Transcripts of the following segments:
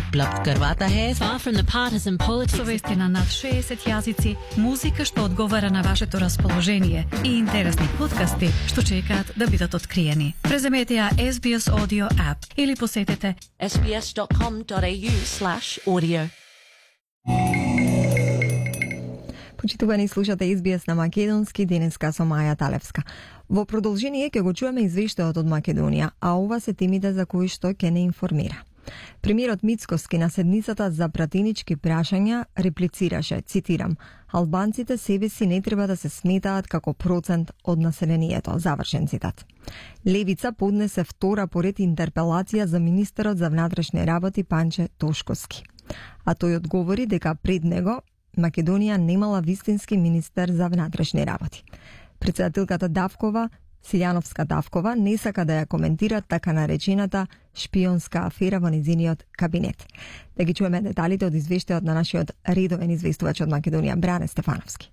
उपलब्ध करवाता है Far from the partisan politics. Вести на над 60 јазици, музика што одговара на вашето расположение и интересни подкасти што чекаат да бидат откриени. Преземете ја SBS Audio App или посетете sbs.com.au/audio. Почитувани, слушате SBS на македонски, денеска со Маја Талевска. Во продолжение ќе го чуеме извештајот од Македонија, а ова се темите за кои што ќе не информира. Премиерот Мицкоски на седницата за пратенички прашања реплицираше, цитирам, албанците себе си не треба да се сметаат како процент од населението, завршен цитат. Левица поднесе втора поред интерпелација за министерот за внатрешни работи Панче Тошковски. А тој одговори дека пред него Македонија немала вистински министер за внатрешни работи. Председателката Давкова, Силјановска Давкова, не сака да ја коментира така наречената шпионска афера во незиниот кабинет. Да ги чуеме деталите од извештајот на нашиот редовен известувач од Македонија, Бране Стефановски.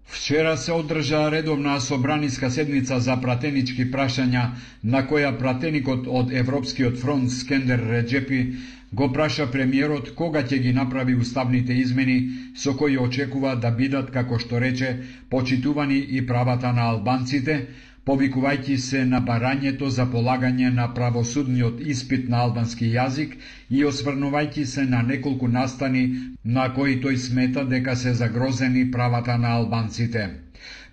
Вчера се одржа редовна собраниска седница за пратенички прашања, на која пратеникот од Европскиот фронт Скендер Реджепи го праша премиерот кога ќе ги направи уставните измени со кои очекува да бидат, како што рече, почитувани и правата на албанците, повикувајќи се на барањето за полагање на правосудниот испит на албански јазик и осврнувајќи се на неколку настани на кои тој смета дека се загрозени правата на албанците.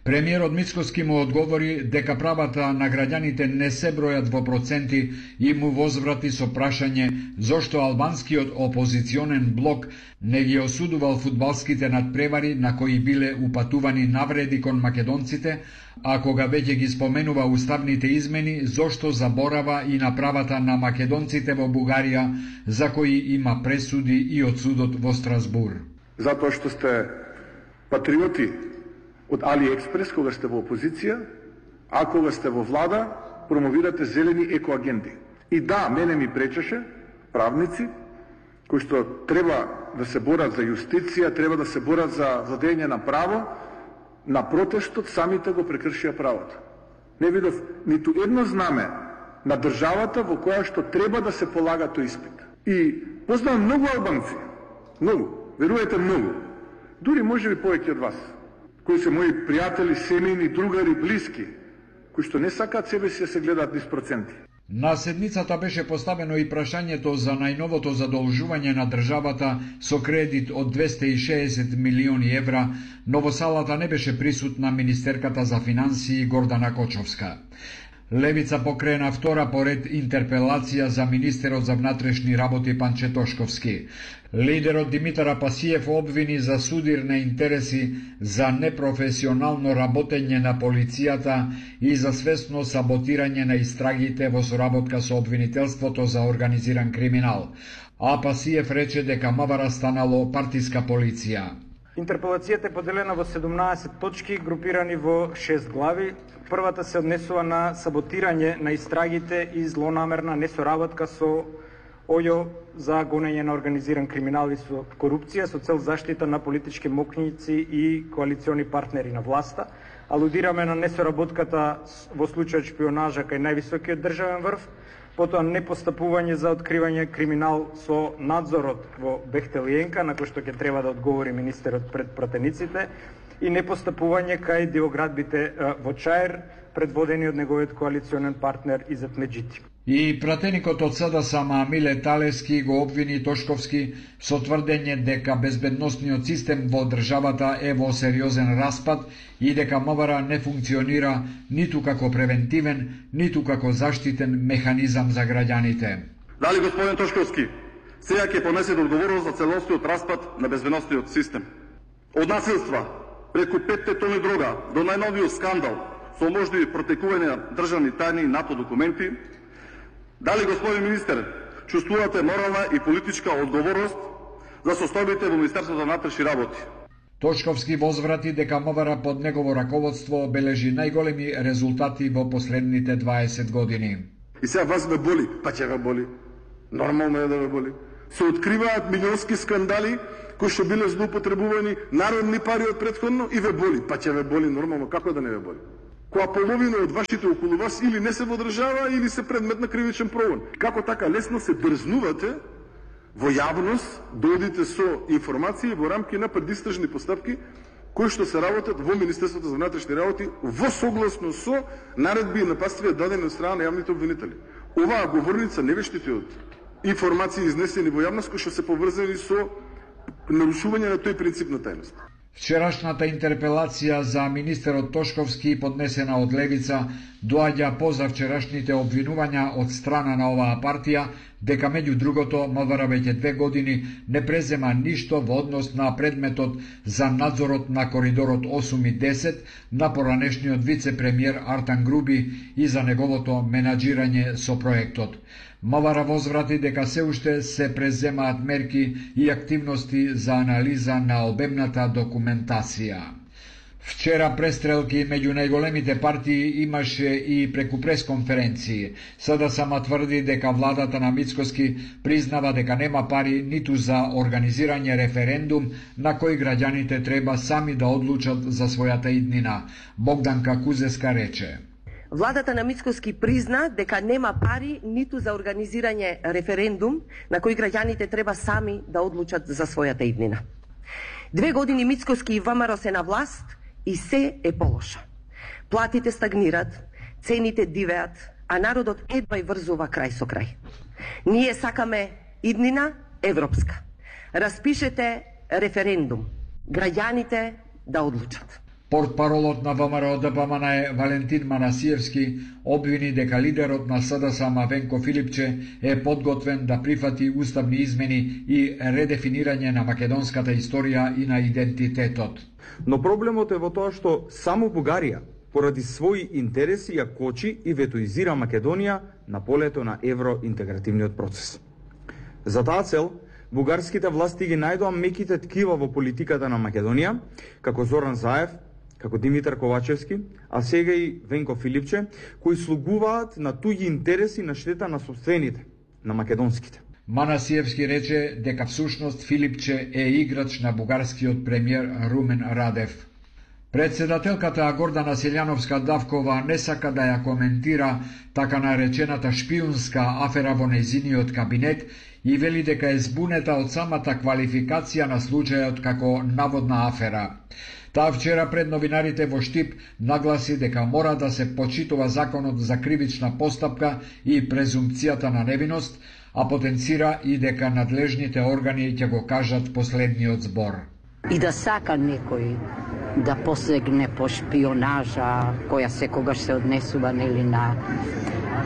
Премиерот Мицкоски му одговори дека правата на граѓаните не се бројат во проценти и му возврати со прашање зошто албанскиот опозиционен блок не ги осудувал фудбалските надпревари на кои биле упатувани навреди кон македонците, а кога веќе ги споменува уставните измени, зошто заборава и на правата на македонците во Бугарија, за кои има пресуди и од судот во Страсбур. Затоа што сте патриоти од AliExpress кога сте во опозиција, а кога сте во влада, промовирате зелени екоагенди. И да, мене ми пречеше правници, кои што треба да се борат за јустиција, треба да се борат за владење на право, на протестот самите го прекршија правото. Не видов ниту едно знаме на државата во која што треба да се полага тој испит. И познавам многу албанци, многу, верувате многу, дури може би повеќе од вас, кои се мои пријатели, семејни, другари, блиски, кои што не сакаат себе си да се гледаат низ проценти. На седницата беше поставено и прашањето за најновото задолжување на државата со кредит од 260 милиони евра, но во салата не беше присутна министерката за финансии Гордана Кочовска. Левица покрена втора поред интерпелација за министерот за внатрешни работи Панче Тошковски. Лидерот Димитар Апасиев обвини за судир на интереси, за непрофесионално работење на полицијата и за свесно саботирање на истрагите во соработка со обвинителството за организиран криминал. Апасиев рече дека МВР станало партиска полиција. Интерпелацијата е поделена во 17 точки, групирани во 6 глави. Првата се однесува на саботирање на истрагите и злонамерна несоработка со ОЈО за гонење на организиран криминал и со корупција со цел заштита на политички мокњици и коалициони партнери на власта. Алудираме на несоработката во случајот шпионажа кај највисокиот државен врв, потоа непостапување за откривање криминал со надзорот во Бехтелиенка, на кој што ќе треба да одговори министерот пред пратениците, и непостапување кај диоградбите во Чаир, предводени од неговиот коалиционен партнер Изет Меджити. И пратеникот од СДСМ Миле Талевски го обвини Тошковски со тврдење дека безбедносниот систем во државата е во сериозен распад и дека МВР не функционира ниту како превентивен, ниту како заштитен механизам за граѓаните. Дали господин Тошковски сега ќе понесете одговорност за целосниот распад на безбедносниот систем? Од насилства преку 5 тони дрога до најновиот скандал со можливи протекување на државни тајни и НАТО документи, дали, господин министер, чувствувате морална и политичка одговорност за состојбите во Министерството за внатрешни работи? Тошковски возврати дека МВР под негово раководство обележи најголеми резултати во последните 20 години. И сега вас ве боли, па ќе ве боли. Нормално е да ве боли. Се откриваат милионски скандали кои што биле злоупотребувани народни пари од претходно и ве боли, па ќе ве боли нормално, како да не ве боли? која половина од вашите околу вас или не се водржава или се предмет на кривичен прогон. Како така лесно се дрзнувате во јавност да одите со информации во рамки на предистражни постапки кои што се работат во Министерството за внатрешни работи во согласно со наредби и напастви дадени од страна на јавните обвинители. Оваа говорница не вештите од информации изнесени во јавност кои што се поврзани со нарушување на тој принцип на тајност. Вчерашната интерпелација за министерот Тошковски, поднесена од Левица, доаѓа позавчерашните обвинувања од страна на оваа партија дека меѓу другото МВР веќе 2 години не презема ништо во однос на предметот за надзорот на коридорот 8 и 10 на поранешниот вице-премиер Артан Груби и за неговото менаџирање со проектот. МВР возврати дека се уште се преземаат мерки и активности за анализа на обемната документација. Вчера престрелки меѓу најголемите партии имаше и преку пресконференции. Сада сама тврди дека владата на Мицкоски признава дека нема пари ниту за организирање референдум на кој граѓаните треба сами да одлучат за својата иднина. Богданка Кузеска рече: Владата на Мицкоски призна дека нема пари ниту за организирање референдум на кој граѓаните треба сами да одлучат за својата иднина. 2 години Мицкоски и ВМРО се на власт и се е полоша. Платите стагнират, цените дивеат, а народот едва и врзува крај со крај. Ние сакаме иднина европска. Распишете референдум. Граѓаните да одлучат. Портпаролот на ВМРО ДПМН Валентин Манасиевски обвини дека лидерот на СДСМ Венко Филипче е подготвен да прифати уставни измени и редефинирање на македонската историја и на идентитетот. Но проблемот е во тоа што само Бугарија, поради своји интереси, ја кочи и ветоизира Македонија на полето на евроинтегративниот процес. За таа цел, бугарските власти ги најдоа меките ткива во политиката на Македонија, како Зоран Заев, како Димитар Ковачевски, а сега и Венко Филипче, кои слугуваат на туѓи интереси на штета на собствените, на македонските. Манасиевски рече дека всушност Филипче е играч на бугарскиот премиер Румен Радев. Председателката Гордана Селјановска-Давкова не сака да ја коментира така наречената шпиунска афера во нејзиниот кабинет и вели дека е збунета од самата квалификација на случајот како наводна афера. Таа вчера пред новинарите во Штип нагласи дека мора да се почитува законот за кривична постапка и презумпцијата на невиност, а потенцира и дека надлежните органи ќе го кажат последниот збор. И да сака некој да посегне по шпионажа која секогаш се однесува на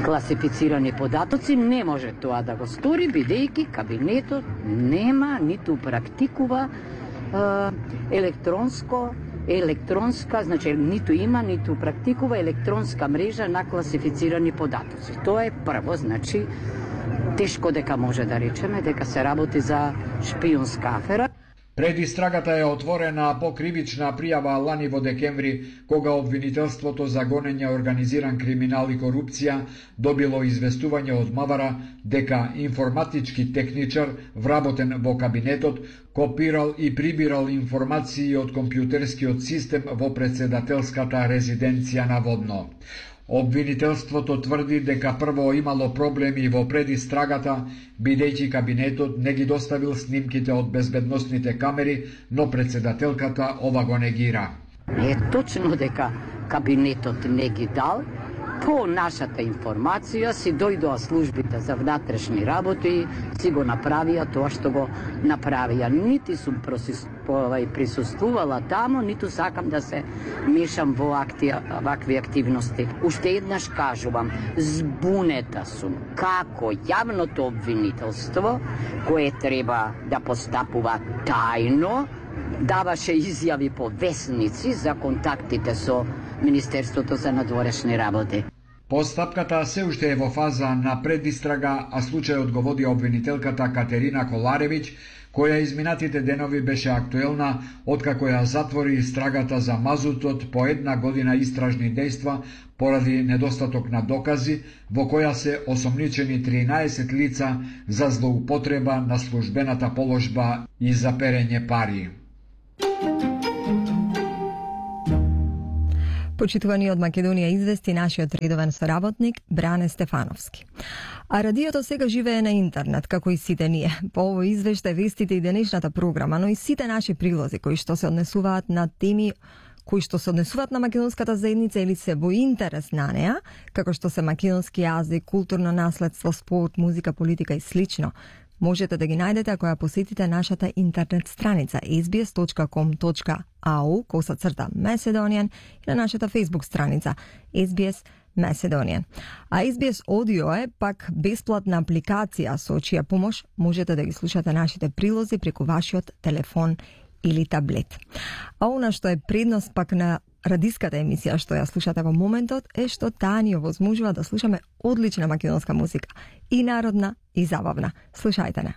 класифицирани податоци, не може тоа да го стори, бидејќи кабинетот нема ниту практикува електронска, значи ниту има, ниту практикува електронска мрежа на класифицирани податоци. Тоа е прво, значи тешко дека може да речеме дека се работи за шпионска афера. Предистрагата е отворена по кривична пријава лани во декември, кога обвинителството за гонење организиран криминал и корупција добило известување од МВР дека информатички техничар вработен во кабинетот копирал и прибирал информации од компјутерскиот систем во председателската резиденција наводно. Обвинителството тврди дека прво имало проблеми во предистрагата, бидејќи кабинетот не ги доставил снимките од безбедносните камери, но председателката ова го негира. Е точно дека кабинетот не ги дал. По нашата информација си дојдоа службите за внатрешни работи, си го направија тоа што го направија. Нити сум присуствувала тамо, ниту сакам да се мешам во вакви активности. Уште еднаш кажувам, збунета сум како јавното обвинителство, кое треба да постапува тајно, даваше изјави по весници за контактите со Министерството за надворешни работи. Постапката се уште е во фаза на предистрага, а случајот го води обвинителката Катерина Коларевиќ, која изминатите денови беше актуелна откако ја затвори истрагата за мазутот по 1 година истражни дејства поради недостаток на докази, во која се осомничени 13 лица за злоупотреба на службената положба и за перење пари. Почитувани од Македонија извести нашиот редовен соработник Бране Стефановски. А радиото сега живее на интернет, како и сите ние. По овој извештај, вестите и денешната програма, но и сите наши прилози кои што се однесуваат на теми кои што се однесуваат на македонската заедница или се во интерес на неа, како што се македонски јазик, културно наследство, спорт, музика, политика и слично. Можете да ги најдете ако ја посетите нашата интернет страница sbs.com.au/Macedonian и на нашата Facebook страница SBS Macedonian. А SBS Audio е пак бесплатна апликација со чија помош можете да ги слушате нашите прилози преку вашиот телефон или таблет. А она што е предност пак на радиската емисија што ја слушате во моментот е што таа ни овозможува да слушаме одлична македонска музика, и народна и забавна. Слушајте не.